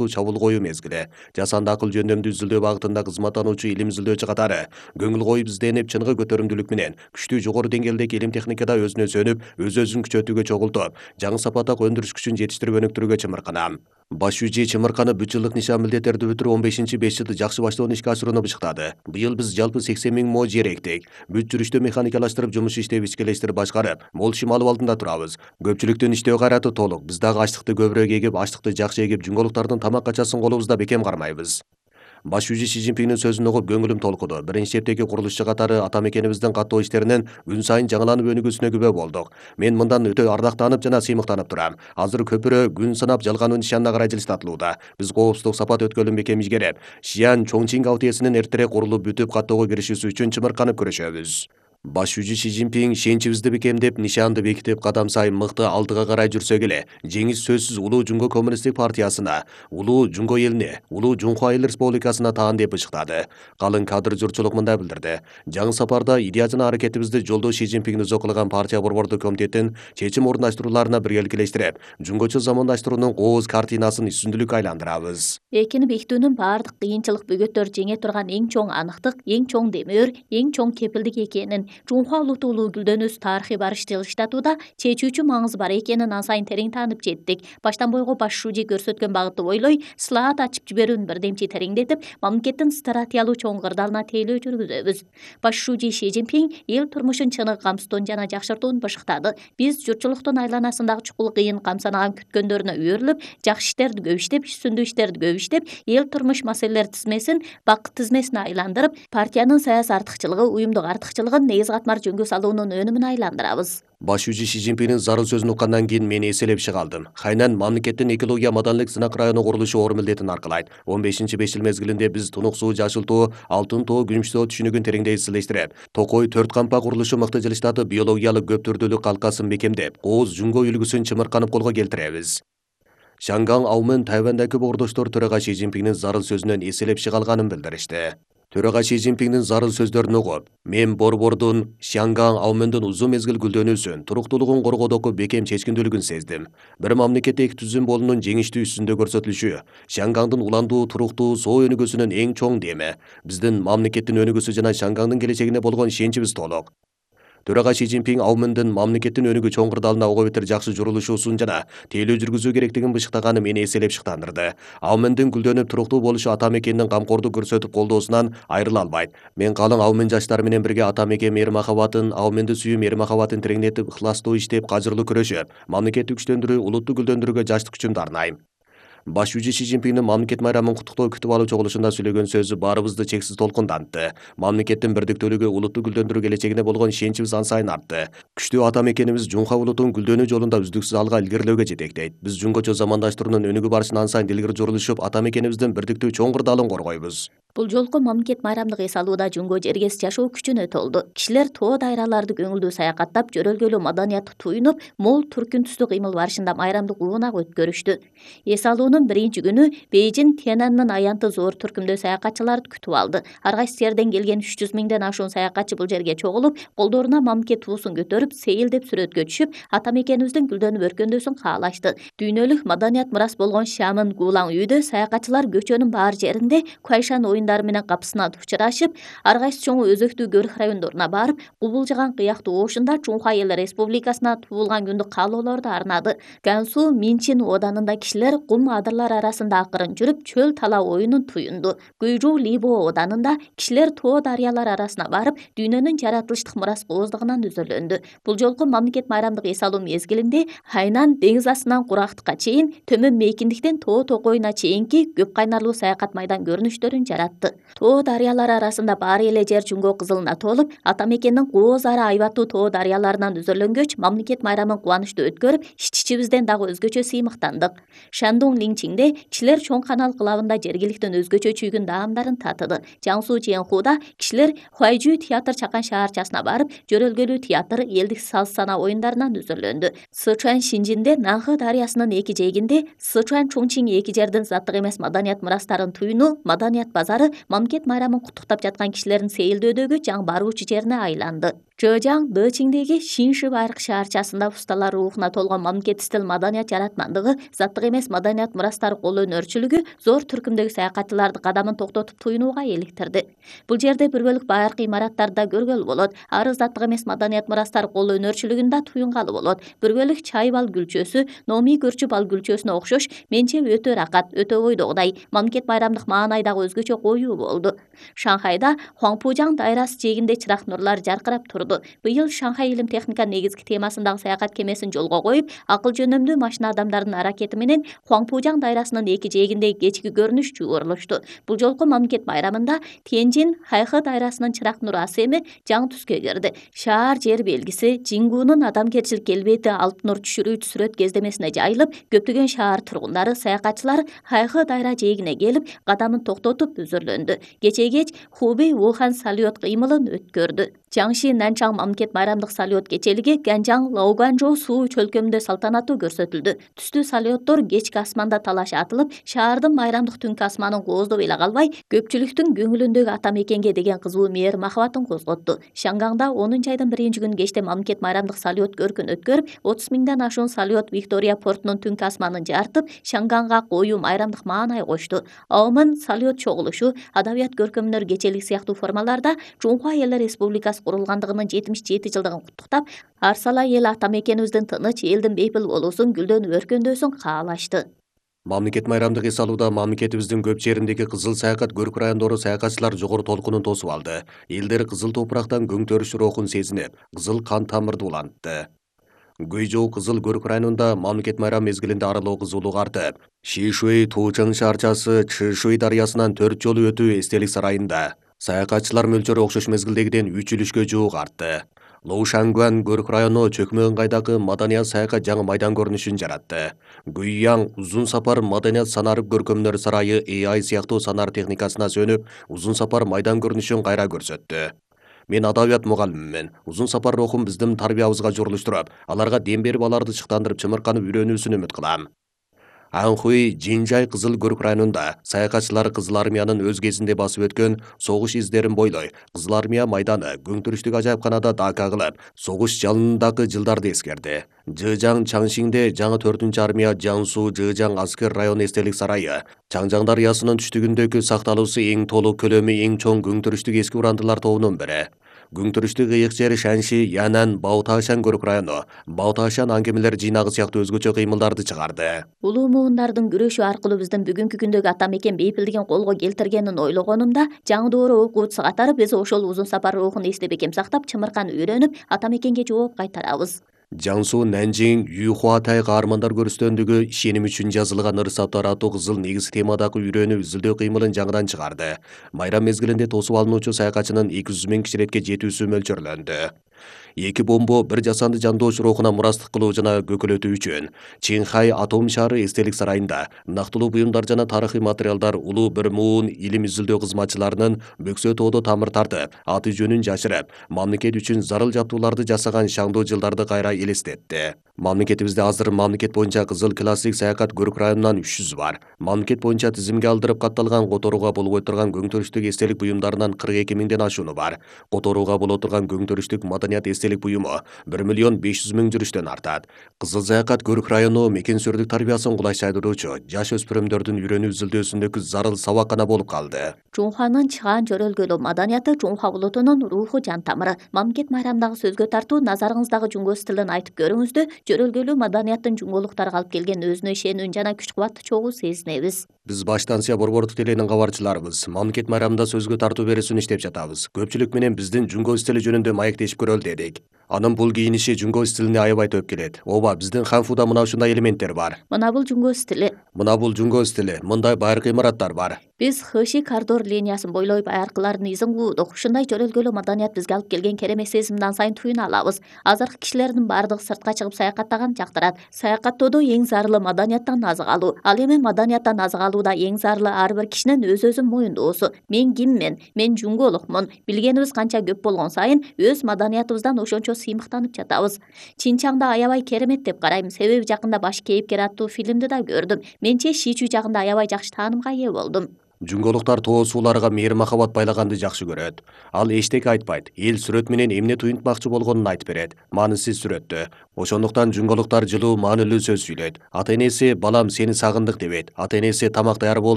чабуул коюу мезгили. Жасанды акыл жөндөмдүү изилдөө багытында кызматтануучу илим изилдөөчү катары көңүл коюп изденип, чыныгы көтөрүмдүүлүк менен күчтүү жогору деңгээлдеги илим техникада өзүнө сөнүп, өз-өзүн күчөтүүгө чогултуп, жаңы сапаттагы өндүрүш күчүн жетиштирип өнүктүрүүгө чымырканам. Баш жүчи чымырканып 3 жылдык нишан милдеттерди бүтүрүп 15-5 жылды жакшы баштоону ишке ашырууну бышыктады. Быйыл биз жалпы 80 000 мо жер эктик. Бүт жүрүштө механикалаштырып, жумуш иштеп, ичкелештирип башкарып, мол ишим алып алдында турабыз. Көпчүлүктүн иштөө кайраты толук. Биз дагы ачлыкты көбүрөөк эгип, ачлыкты жакшы эгип, жуңголуктардын тамак качасын колубузда бекем кармайбыз. Баш жүчү Си Цзиньпиндин сөзүн угуп көңүлүм толкуду. Биринчи эптеги курулушчу катары ата мекенибиздин каттоо иштеринен күн сайын жаңыланып өнүгүүсүнө күбө болдук. Мен мындан өтө ардактанып жана сыймыктанып турам. Азыр көпүрө күн санап жалгануу нишанына карай жылыштатылууда. Биз коопсуздук сапат өткөлүн бекем ийгереп, Шиан Чоңчин АОТСнин эртерээк курулуп бүтүп каттоого киришүүсү үчүн чымырканып күрөшөбүз. Баш жүчү Си Цзиньпин шенчибизди бекемдеп, нишанды бекитип, кадам сайын мыкты алдыга карай жүрсөк эле, жеңиш сөзсүз улуу Жунго коммунисттик партиясына, улуу Жунго элине, улуу Жунхуа эл республикасына таан деп бышыктады. Калың кадр журтчулук мындай билдирди. Жаңы сапарда идея жана аракетибизди жолдош Си Цзиньпин өзү кылган партия борбордук комитеттин чечим орундаштырууларына биргеликелештирип, жунгочу замандаштыруунун кооз картинасын үстүндүлүккө айландырабыз. Экини бекитүүнүн баардык кыйынчылык бөгөттөр жеңе турган эң чоң аныктык, эң чоң демөөр, эң чоң кепилдик экенин Жунхуа улуттук улуу гүлдөнүүсү тарыхый барыш жылыштатууда чечүүчү маңызы бар экенин ан сайын терең таанып жеттик. Баштан бойго баш шужи көрсөткөн багытты бойлой слаат ачып жиберүүнү бирдемчи тереңдетип, мамлекеттин стратегиялуу чоң кырдаалына тейлөө жүргүзөбүз. Баш шужи Си Цзиньпин эл турмушун чыныгы камсыздоон жана жакшыртууну бышыктады. Биз журтчулуктун айланасындагы чукул кыйын камсанаган күткөндөрүнө үйөрүлүп, жакшы иштерди көп иштеп, сүмдүү иштерди көп иштеп, эл турмуш маселелер тизмесин бакыт тизмесине айландырып, партиянын саясий артыкчылыгы, уюмдук артыкчылыгын негиз катмар жөнгө салуунун өнүмүн айландырабыз. Баш жүчү Си Цзиньпиндин зарыл сөзүн уккандан кийин мен эселеп чыга алдым. Хайнан мамлекеттин экология маданилык сынак району курулушу оор милдетин аркылайт. 15-5 жыл мезгилинде биз Тунук суу, Жашыл тоо, Алтын тоо, Күмүш тоо түшүнүгүн тереңдей изилештирип, Токой 4 кампа курулушу мыкты жылыштатып, биологиялык көп түрдүүлүк калкасын бекемдеп, кооз Жунго үлгүсүн чымырканып колго келтиребиз. Шанган Аумен Тайвандагы бордоштор төрага Си Цзиньпиндин зарыл сөзүнөн эселеп чыга алганын билдиришти. Төрага Си Цзиньпиндин зарыл сөздөрүн угуп, мен борбордун Шанган Аумендин узун мезгил гүлдөнүүсүн, туруктуулугун коргоодогу бекем чечкиндүүлүгүн сездим. Бир мамлекетте эки түзүм болуунун жеңиштүү үстүндө көрсөтүлүшү Шангандын уландуу, туруктуу соо өнүгүүсүнүн эң чоң деми. Биздин мамлекеттин өнүгүүсү жана Шангандын келечегине болгон ишеничибиз толук. Төрага Си Цзиньпин Аумендин мамлекеттин өнүгүү чоң кырдаалына ого бетер жакшы журулушуусун жана тейлөө жүргүзүү керектигин бышыктаганы мени эселеп шыктандырды. Аумендин гүлдөнүп туруктуу болушу ата мекендин камкордук көрсөтүп колдоосунан айрыла албайт. Мен калың Аумен жаштары менен бирге ата мекен мээри махабатын, Ауменди сүйүү мээри махабатын тереңдетип, ыхластуу иштеп, кажырлуу күрөшүп, мамлекетти күчтөндүрүү, улутту гүлдөндүрүүгө жаштык күчүмдү арнайм. Баш жүчү Си Цзиньпиндин мамлекет майрамын куттуктоо күтүп алуу чогулушунда сүйлөгөн сөзү баарыбызды чексиз толкундантты. Мамлекеттин бирдиктүүлүгү, улутту гүлдөндүрүү келечегине болгон ишеничибиз ан сайын артты. Күчтүү ата мекенибиз Жунхуа улутун гүлдөнүү жолунда үздүксүз алга илгерилөөгө жетектейт. Биз жуңгочу замандаштыруунун өнүгүү барышын ан сайын илгери журулушуп, ата мекенибиздин бирдиктүү чоң кырдаалын коргойбуз. Бул жолку мамлекет майрамдык эс алууда Жунго жергес жашоо күчүнө толду. Кишилер тоо дайраларды көңүлдүү саякаттап, жөрөлгөлүү маданиятты туюнуп, мол түркүн түстүү кыймыл барышында майрамдык уунак өткөрүштү. Эс алуунун биринчи күнү Бейжин Тяньаньмын аянты зор түркүмдүү саякатчыларды күтүп алды. Ар кайсы жерден келген 300 000ден ашуун саякатчы бул жерге чогулуп, колдоруна мамлекет туусун көтөрүп, сейилдеп сүрөткө түшүп, ата мекенибиздин гүлдөнүп өркөндөөсүн каалашты. Дүйнөлүк маданият мурас болгон Шамын Гулаң үйдө саякатчылар көчөнүн баар жеринде Куайшан оюндары менен капысына учурашып, ар кайсы чоң өзөктүү көрүк райондоруна барып, кубулжаган кыяктуу оошунда Чунхуа эл республикасына туулган күндү каалоолорду арнады. Гансу Минчин оданында кишилер кум адырлар арасында акырын жүрүп, чөл тала оюнун туюнду. Гуйжу Либо оданында кишилер тоо дарыялар арасына барып, дүйнөнүн жаратылыштык мурас кооздугунан өзөлөндү. Бул жолку мамлекет майрамдык эс алуу мезгилинде Хайнан деңиз астынан курактыкка чейин, төмөн мейкиндиктен тоо токоюна чейинки көп кайнарлуу саякат майдан көрүнүштөрүн жаратты. Тоо дарыялар арасында баары эле жер Жунго кызылына толуп, ата мекендин кооз ары айбаттуу тоо дарыяларынан өзөлөнгөч мамлекет майрамын кубанычтуу өткөрүп, ич-ичибизден дагы өзгөчө сыймыктандык. Шандун Линчиңде кишилер чоң канал кылабында жергиликтин өзгөчө чүйгүн даамдарын татыды. Жаңсу Чиэнхуда кишилер Хуайжу театр чакан шаарчасына барып, жөрөлгөлүү театр, элдик саз-сана оюндарынан өзөлөндү. Сычуань Шинжинде Нанхы дарыясынын эки жээгинде Сычуань Чоңчин эки жердин заттык эмес маданият мурастарын туюнуу маданият базары тургундары мамлекет майрамын куттуктап жаткан кишилердин сейилдөөдөгү жаңы баруучу жерине айланды. Жэжаң Дэчиңдеги Шинши байыркы шаарчасында усталар рухуна толгон мамлекет стил маданият жаратмандыгы, заттык эмес маданият мурастары кол өнөрчүлүгү зор түркүмдөгү саякатчыларды кадамын токтотуп туюнууга эликтирди. Бул жерде бир бөлүк байыркы имараттарды да көргөлү болот. Ары заттык эмес маданият мурастары кол өнөрчүлүгүн да туюнгалы болот. Бир бөлүк чай бал гүлчөсү, Номи көрчү бал гүлчөсүнө окшош менче өтө ракат, өтө ойдогудай мамлекет майрамдык маанайдагы өзгөчө коюу болду. Шанхайда Хуаңпужаң дайрасы жээгинде чырак нурлар жаркырап турду. Быйыл Шанхай илим техника негизги темасындагы саякат кемесин жолго коюп, акыл жөнөмдүү машина адамдардын аракети менен Хуаңпужаң дайрасынын эки жээгинде кечки көрүнүш жуурулушту. Бул жолку мамлекет майрамында Тяньжин Хайхы дайрасынын чырак нур асеми жаңы түскө кирди. Шаар жер белгиси Жингунун адамгерчилик келбети алтын нур түшүрүүчү сүрөт кездемесине жайылып, көптөгөн шаар тургундары, саякатчылар Хайхы дайра жээгине келип, кадамын токтотуп үзүрлөндү. Кечээ кеч Хубей Вухан салют кыймылын өткөрдү. Жаңши Нанчаң мамлекет майрамдык салют кечелиги Ганжаң Лауганжоу суу чөлкөмүндө салтанаттуу көрсөтүлдү. Түстүү салюттор кечки асманда талаш атылып, шаардын майрамдык түнкү асманын кооздоп эле калбай, көпчүлүктүн көңүлүндөгү ата мекенге деген кызуу мээр махабатын козготту. Шангаңда 10 айдын 1-күнү кечте мамлекет майрамдык салют көркүн өткөрүп, 30 миңден ашуун салют Виктория портунун түнкү асманын жарытып, Шангаңга коюу майрамдык маанай кошту. Аумын салют чогулушу, адабият көркөмдөр кечелик сыяктуу формаларда Жунхуа Элдер Республикасы курулгандыгынын 77 жылдыгын куттуктап, арсала эл ата мекенибиздин тыныч, элдин бейпил болуусун, гүлдөнүп өркөндөсүн каалашты. Мамлекет майрамдык эс алууда мамлекетибиздин көп жериндеги кызыл саякат көрк райондору саякатчылар жогору толкунун тосуп алды. Элдер кызыл топурактан көң төрүш рухун сезинип, кызыл кан тамырды улантты. Гуйжоу кызыл көрк районунда мамлекет майрам мезгилинде аралоо кызуулук артып, Шишуй Туучаң шаарчасы Чышуй дарыясынан 4 жолу өтүү эстелик сарайында саякатчылар мөлчөрү окшош мезгилдегиден 3 үлүшкө жуук артты. Лоушангуан көрк району чөкмө ыңгайдагы маданият саякат жаңы майдан көрүнүшүн жаратты. Гуйяң узун сапар маданият санарып көркөмдөр сарайы AI сыяктуу санар техникасына сөнүп, узун сапар майдан көрүнүшүн кайра көрсөттү. Мен адабият мугалимимин. Узун сапар рухун биздин тарбиябызга журулуштуруп, аларга дем берип, аларды чыктандырып, чымырканып үйрөнүүсүн үмүт кылам. Анхуй Жинжай кызыл көрк районунда саякатчылар Кызыл армиянын өз кезинде басып өткөн согуш издерин бойлой, Кызыл армия майданы көңтүрүштүк ажайыпканада дака кылып, согуш жалынындагы жылдарды эскерди. Жэжаң Чаңшиңде жаңы 4-армия армия Жансу Жэжаң аскер район эстелик сарайы, Чаңжаң дарыясынын түштүгүндөгү сакталуусу эң толук көлөмү эң чоң көңтүрүштүк эски урандылар тобунун бири. Көңтүрүштүк ыйык жер Шанши, Янан, Баоташан көрк району, Баоташан аңгемелер жыйнагы сыяктуу өзгөчө кыймылдарды чыгарды. Улуу муундардын күрөшү аркылуу биздин бүгүнкү күндөгү ата мекен бейпилдигин колго келтиргенин ойлогонумда, жаңы доору окуучусу катары биз ошол узун сапар рухун эстеп экем сактап, чымыркан үйрөнүп, ата мекенге жооп кайтарабыз. Жансу Нанжиң Юхуатай каармандар көрүстөндүгү ишеним үчүн жазылган ырсаттар аттуу кызыл негиз темадагы үйрөнүү изилдөө кыймылын жаңыдан чыгарды. Майрам мезгилинде тосуп алынуучу саякатчынын 200 миң киширетке жетүүсү мөлчөрлөндү. Эки бомбо бир жасанды жандооч рухуна мурастык кылуу жана көкөлөтүү үчүн Чинхай атом шаары эстелик сарайында нактылуу буюмдар жана тарыхый материалдар улуу бир муун илим изилдөө кызматчыларынын бөксө тоодо тамыр тартып, аты жөнүн жашырып, мамлекет үчүн зарыл жаптууларды жасаган шаңдуу жылдарды кайра элестетти. Мамлекетибизде азыр мамлекет боюнча кызыл классик саякат көрк районунан 300 бар. Мамлекет боюнча тизимге алдырып катталган которууга болбой турган көңтүрүштүк эстелик буюмдарынан 42 миңден ашууну бар. Которууга боло турган көңтүрүштүк маданият эстелик буюму 1 миллион 500 миң жүрүштөн артат. Кызыл саякат көрк району мекен сүрдүк тарбиясын кулайчайдыруучу жаш өспүрүмдөрдүн үйрөнүү изилдөөсүндөгү зарыл сабакана болуп калды. Жунханын чыгаан жөрөлгөлүү маданияты Жунха улутунун руху жан тамыры. Мамлекет майрамдагы сөзгө тартуу назарыңыздагы жунго стилин айтып көрүңүздү. Жөрөлгөлүү маданияттын жунгулуктарга алып келген өзүнө ишенүүн жана күч кубатты чогуу сезинебиз. Биз баштансыя борбордук теленин кабарчыларыбыз. Мамлекет майрамында сөзгө тартуу берүүсүн иштеп жатабыз. Көпчүлүк менен биздин жунго стили жөнүндө маектешип көрөлү дедик. Анын бул кийиниши жунго стилине аябай төп келет. Ооба, биздин ханфуда мына ушундай элементтер бар. Мына бул жунго стили. Мына бул жунго стили. Мындай байыркы имараттар бар. Биз Хэши коридор линиясын бойлой байыркылардын изин куудук. Ушундай жөрөлгөлүү маданият бизге алып келген керемет сезимден сайын туюна алабыз. Азыркы кишилердин бардыгы сыртка чыгып саякаттаган жактырат. Саякаттоодо эң зарылы маданияттан азык алуу. Ал эми маданияттан азык алууда эң зарылы ар бир кишинин өз-өзүн моюндоосу. Мен киммин? Мен жунголукмун. Билгенибиз канча көп болгон сайын өз маданиятыбыздан ошончо сыймыктанып жатабыз. Чинчаңда аябай керемет деп карайм. Себеби жакында баш кейипкер аттуу фильмди да көрдүм. Менче Шичу жагында аябай жакшы таанымга ээ болдум. Жунголуктар тоо сууларга мээри махабат байлаганды жакшы көрөт. Ал эчтеке айтпайт, эл сүрөт менен эмне туюнтмакчы болгонун айтып берет, маанисиз сүрөттө. Ошондуктан жунголуктар жылуу маанилүү сөз сүйлөйт. Ата энеси балам сени сагындык дебейт, ата энеси тамак даяр бол